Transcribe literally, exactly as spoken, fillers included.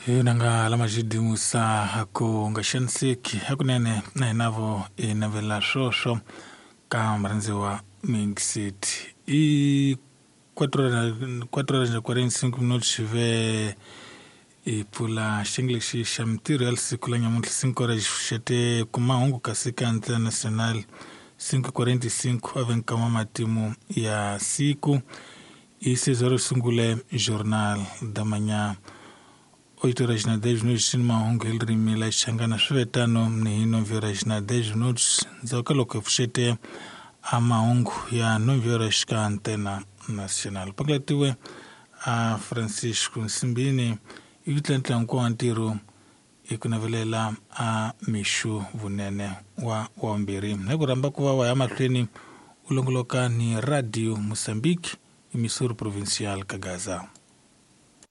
Hi nanga lama xidimusa ku nga xaniseki hakunene na hinavo i navela swoswo ka murhandziwa Mixit i quatro horas na quarenta e cinco minutos ve i pfula xiyenge lexi xa mintirho ya siku la nyamuntlha cinco horas xete kumahungu kasi ka international cinco quarenta e cinco ave nkama matimu ya siku i seis horas sungule jornal da manhã oito horas na dez minutos ni mahungu hi ririmi la Xichangana swi ve tano ni hi nove horas na dez minutos ndzhaku ka loko hi pfuxete a mahungu ya nove horas ka antena nacional pakulatiwe a Francisco Nsimbini i ku tlantla hinkwawo ntirho hi ku navelela a mixu vunene wa wa vumbirhi hi ku rhamba ku va wa ya mahlweni u longoloka ni Radio Mozambique emissora provincial ka Gaza.